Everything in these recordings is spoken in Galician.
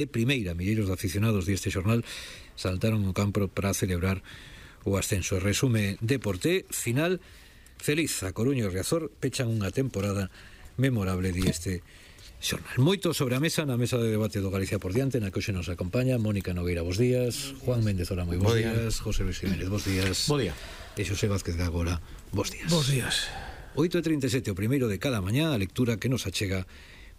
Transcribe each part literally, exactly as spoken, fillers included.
De primeira, milleiros de aficionados deste xornal saltaron ao campo para celebrar o ascenso. Resume Deporte, final feliz. A Coruña e o Riazor pechan unha temporada memorable di este xornal. Moito sobre a mesa, na mesa de debate do Galicia por diante, na que hoxe nos acompaña Mónica Nogueira, bos días. Juan Méndez Ora, moi bos días. José Luis Jiménez, bos días. Bo día. E Xosé Vázquez de Agora, bos días. Bos días. oito e trinta e sete, o primeiro de cada mañá, a lectura que nos achega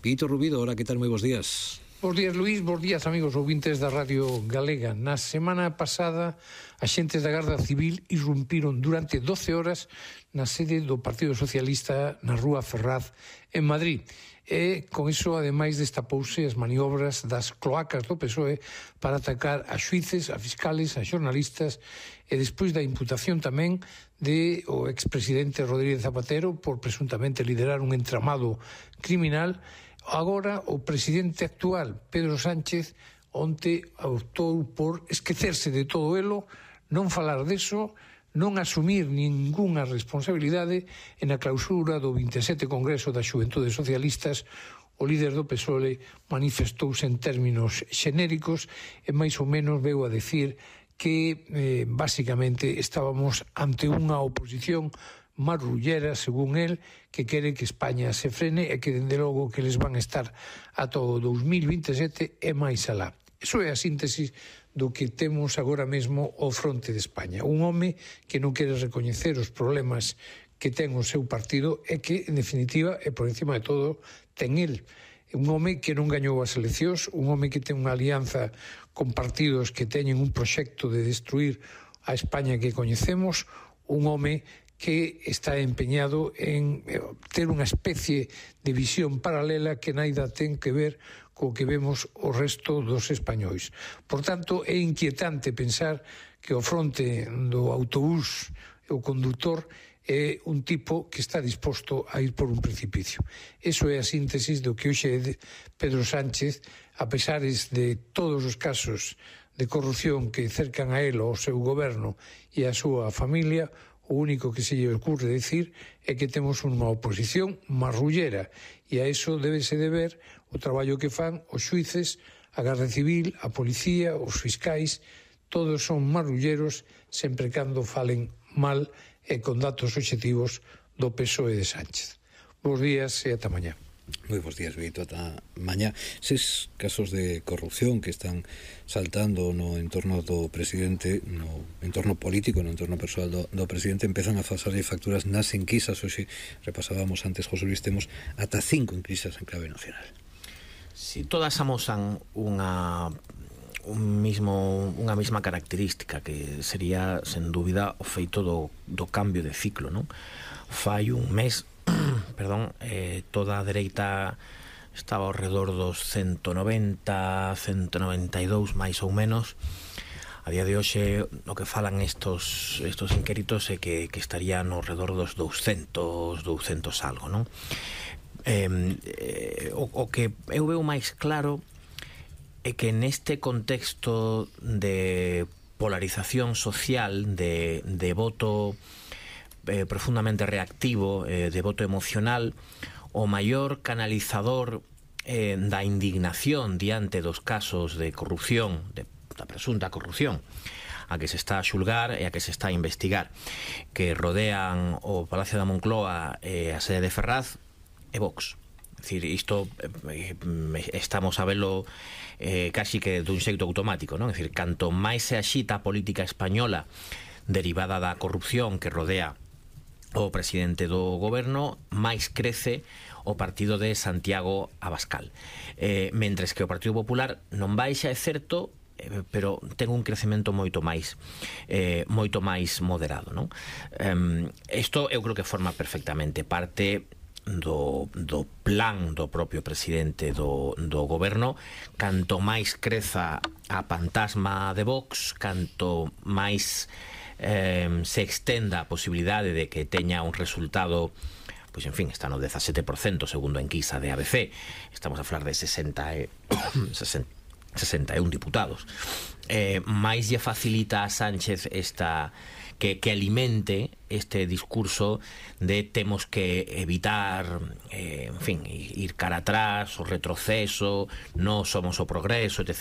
Pito Rubido. Ora, que tal? Moi bos días. Bos días, Luís, bos días, amigos ouvintes da Radio Galega. Na semana pasada, axentes da Garda Civil irrumpiron durante doce horas na sede do Partido Socialista na Rúa Ferraz, en Madrid. E, con iso, ademais, destapouse as maniobras das cloacas do P S O E para atacar a xuíces, a fiscales, a xornalistas, e despois da imputación tamén de o expresidente Rodríguez Zapatero por presuntamente liderar un entramado criminal. Agora, o presidente actual, Pedro Sánchez, onte optou por esquecerse de todo elo, non falar deso, non asumir ningunha responsabilidade. En a clausura do vinte e sete Congreso das Xuventudes Socialistas, o líder do P S O E manifestouse en términos xenéricos e máis ou menos veu a decir que, eh, basicamente, estábamos ante unha oposición marrullera, según el, que quere que España se frene e que, dende logo, que les van a estar ata o dous mil vinte e sete e máis alá. Iso é a síntesis do que temos agora mesmo ao fronte de España. Un home que non quere recoñecer os problemas que ten o seu partido e que, en definitiva, e por encima de todo, ten el. Un home que non gañou as eleccións, un home que ten unha alianza con partidos que teñen un proxecto de destruir a España que coñecemos, un home que está empeñado en ter unha especie de visión paralela que naida ten que ver co que vemos o resto dos españois. Por tanto, é inquietante pensar que o fronte do autobús, o conductor, é un tipo que está disposto a ir por un precipicio. Eso é a síntesis do que hoxe é Pedro Sánchez, a pesar de todos os casos de corrupción que cercan a él, ao seu goberno e a súa familia. O único que se lle ocurre decir é que temos unha oposición marrullera e a iso débese de ver o traballo que fan os xuíces, a Garda Civil, a Policía, os fiscais. Todos son marrulleros sempre cando falen mal e con datos obxectivos do P S O E de Sánchez. Bos días e ata mañá. Moi bons días, Vito, ata mañá. Ses casos de corrupción que están saltando no entorno do presidente, no entorno político, no entorno persoal do, do presidente, empezan a pasarlle facturas nas enquisas. Hoxe repasábamos antes, José Luis, temos ata cinco enquisas en clave nacional. Si todas amosan unha un mismo unha mesma característica, que sería, sen dúbida, o feito do, do cambio de ciclo, non? Fai un mes perdón, eh, toda a dereita estaba ao redor dos ciento noventa, ciento noventa e dous máis ou menos. A día de hoxe o que falan estos estos inquéritos é que, que estarían ao redor dos douscentos, douscentos algo, non? Eh, eh, o, o que eu veo máis claro é que neste contexto de polarización social, de, de voto Eh, profundamente reactivo, eh, de voto emocional, o maior canalizador eh, da indignación diante dos casos de corrupción, de, da presunta corrupción a que se está a xulgar e a que se está a investigar, que rodean o Palacio da Moncloa e a sede de Ferraz, e Vox. É dicir, isto eh, estamos a velo eh, casi que dun xeito automático, non? É dicir, canto máis se axita a política española derivada da corrupción que rodea o presidente do goberno, máis crece o partido de Santiago Abascal. Eh, mentres que o Partido Popular non baixa, é certo, eh, pero ten un crecemento moito máis eh, moito máis moderado, non? Eh, isto eu creo que forma perfectamente parte do, do plan do propio presidente do, do goberno. Canto máis creza a fantasma de Vox, canto máis Eh, se extenda a posibilidade de que teña un resultado, pois en fin, está no dezasete por cento segundo a enquisa de A B C. Estamos a falar de sesenta e, sesenta e un diputados. Eh, máis lle facilita a Sánchez esta que, que alimente este discurso de temos que evitar eh, en fin, ir cara atrás, o retroceso, non somos o progreso, etcétera.